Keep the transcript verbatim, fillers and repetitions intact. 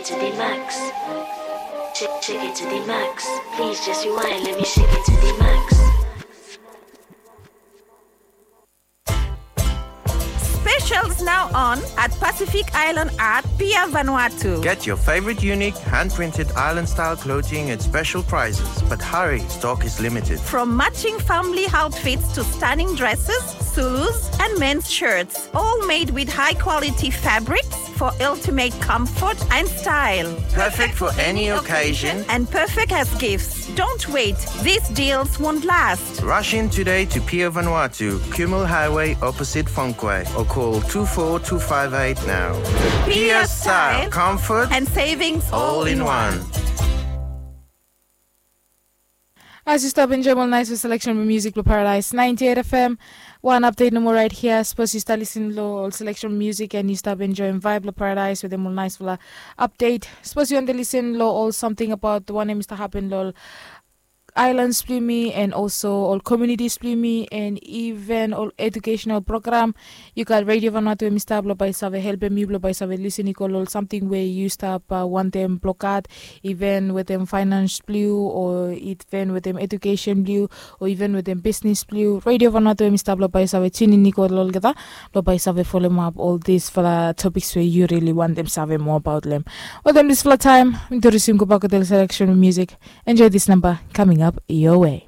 To the max. Shake, shake it to the max. Please just rewind, let me shake it to the max. Specials now on at Pacific Island Art, Pier Vanuatu. Get your favorite unique hand-printed island-style clothing at special prices. But hurry, stock is limited. From matching family outfits to stunning dresses, Zulus, and men's shirts, all made with high-quality fabrics for ultimate comfort and style. Perfect for any occasion and perfect as gifts. Don't wait, these deals won't last. Rush in today to Pier Vanuatu, Kumul Highway, opposite Fonquay, or call two four two five eight now. Pier style, comfort, and savings all in one. As yu stap enjoem ol naesfala seleksen blong musik blong Paradise ninety-eight F M, wan update nomo right here. Sapos yu stap lisin long ol seleksen blong musik and yu stap enjoem vibe blong Paradise wetem ol naesfala update, sapos yu wantem lisin long ol samting abaot wanem i stap hapen long ol islands blong yumi and also ol communities blong yumi and even ol educational program, yu gat Radio Vanuatu we mi stap blong bae i save helpem yu blong bae i save lisin i go long ol samting we yu stap uh, wantem blong gat, even wetem finance blong yu o even wetem education blong yu o even wetem bisnis blong yu. Radio Vanuatu we mi stap blong bae i save tunin i go long olgeta blong bae i save folomap ol disfala topiks we yu rili wantem save moa abaot long em. Wetem disfala taem mi tu risim gobak wetem seleksen blong musik. Enjoy this number coming up your way.